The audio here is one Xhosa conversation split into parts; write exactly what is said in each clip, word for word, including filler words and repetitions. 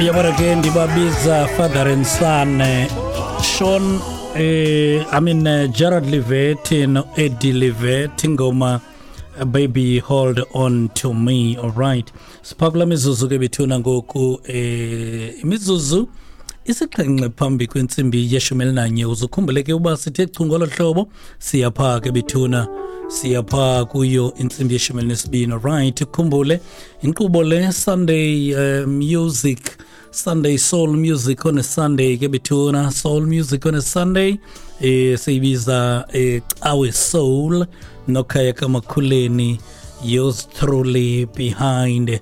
Yabona ke, ndibabiza father and son, eh, Sean, eh, I mean, uh, Gerard Livet no Eddie Livet, ingoma eh, "Baby Hold On To Me". All right, siphakula mizuzu ke bethuna ngoku, eh imizuzu isixhenxe phambi kwentsimbi yeshumi elinanye. Uzukhumbule ke uba sithe chu ngolo hlobo, siyapha ke bethuna, siyapha kuyo intsimbi yeshumi elinesibini. Right, ukhumbule inkqubo le, Sunday uh, music, Sunday soul music on a Sunday ke bethuna, soul music on a Sunday, eh siyibiza eh Cawe Soul noKhaya kaMakhuleni, yours truly behind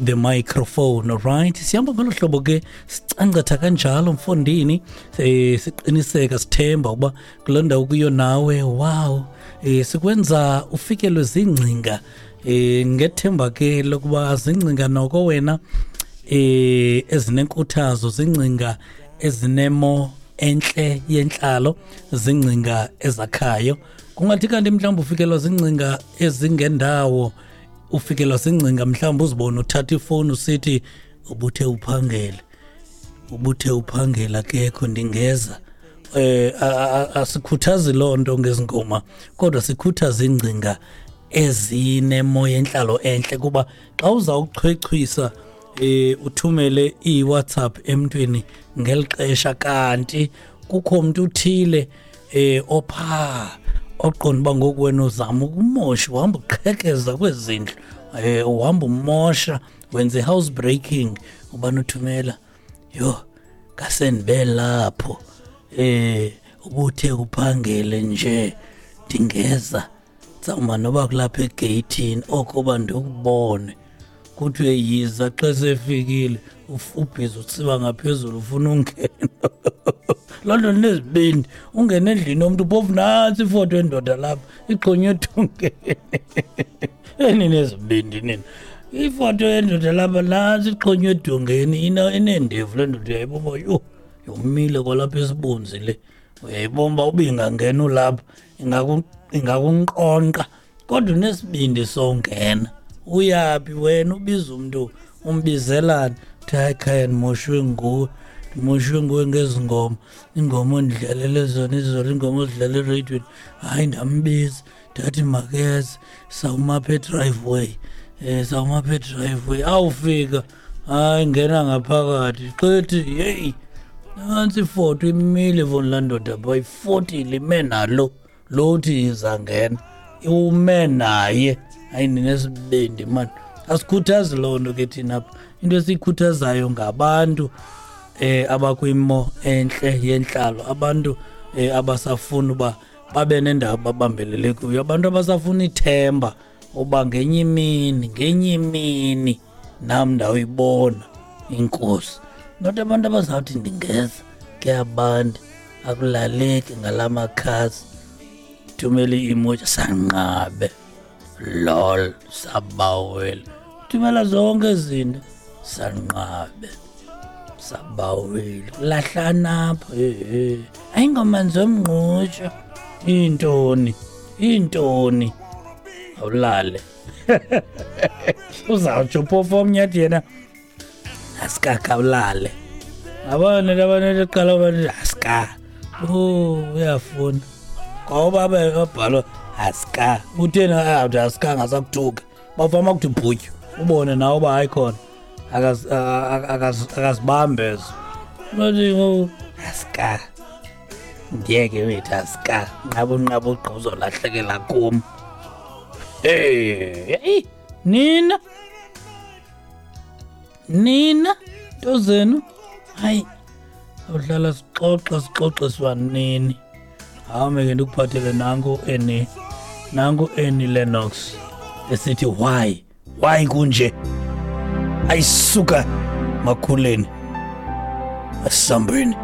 the microphone. Alright, sihamba ngolo hlobo ke, sicancatha kanjalo mfondini, eh siqiniseka, sithemba uba kuloo ndawo kuyo nawe, wow, eh sikwenza ufikelwe zingcinga, eh ngethemba ke lokuba zingcinga noko wena eh ezinenkuthazo, zingcinga ezinemo enhle yenhlalo, zingcinga ezakhayo. Kungathi kanti mhlawumbe ufikelwa zingcinga ezingendawo, ufikelwa zingcinga mhlawumbe uzibone uthatha ifowuni usithi, "Ubuthe uphangele, ubuthe uphangela akekho, ndingeza." eh asikhuthazi loo nto ngezingoma, kodwa sikhuthaza ingcinga ezinemo yenhlalo enhle, kuba xa uzawuchwechwisa eh uthumele iWhatsApp emntwini ngelixesha kanti kukho umuntu uthile eh opha oqonda uba ngoku wena uzama ukumosha, uhamba uqhekeza kwezindlu, eh uhamba umosha, wenza i-house breaking, ubani uthumela, "Yho, ngasendibe lapho, eh ubuthe uphangele nje ndingeza, tsawuma noba kulapha egeyithini okoba ndikubone." Kuthiwe yiza. Xa sefikile, ubhizi utsiba ngaphezulu, ufuna ungena. Loo nto nezibindi, ungene endlini yomntu, phofu nantsi ifoto yendoda lapha ixhonywe edongeni. Eninezibindi nina! Ifoto yendoda lapha, nantsi ixhonywe edongeni, ineendevu le ndoda, uyayibona. Yho, yomile kwalapha esibunzi le, uyayibona uba uba ingangena ulapha ingakunqonqa, kodwa unesibindi songena. Uyaphi wena? Ubiza umntu, umbizelani? Uthi, "Hayi khaya, ndimoshwe nguwe, ndimoshwe nguwe ngezi ngoma, iingoma ondidlalele zona izolo, iingoma ozidlala ereyidweni. Hayi, ndambiza, ndathi makeze, sawuma apha edriveway, um sawuma apha edriveway. Awufika, hayi, ngena ngaphakathi. Xithi yeyi, nantsi ifoto imile foni laa ndoda phaa, ifotile ime nalo lo uthi izangena, ume naye. Hayi, ninesibindi mani." Asikhuthazi loo nto ke thina apha. Into esiyikhuthazayo ngabantu eh abakwimo enhle yenhlalo, abantu eh abasafuna uba babe nendawo babambelele kuyo, abantu abasafuna ithemba uba ngenye imini, ngenye imini nam ndawuyibona inkosi, not abantu abazawuthi ndingeza, kuyabanda, akulaleki ngala makhasi, thumela i-emoji, sanqabe, lol, sabawela, thumela zonke izinto, sanqabe, sabaweli, lahlana apha, hehe, ayingoma zomngqutsho, intoni intoni, awulale. Uzawutsho phofu omnye athi yena asikakawulale, abona abantu eqala bathi asika, oh, uyafuna ngoba babhalwa asika, utheni awuthi asika, ngasakuthuka, bafama kuthi bhutyu, ubone nawe uba hayi khona akazibambe ezo, bathi ngoku asika, ndiyeke wethu, asika, nqaba unqaba ugqa, uzolahlekela kum. Hey, nina nina nto zenu, hayi, awuhlala sixoxa, sixoxiswa nini? Hame ke, ndikuphathele nanku eni, nanku Annie Lennox esithi "Why, why kunje?" Ayisuka makhuleni, asambeni.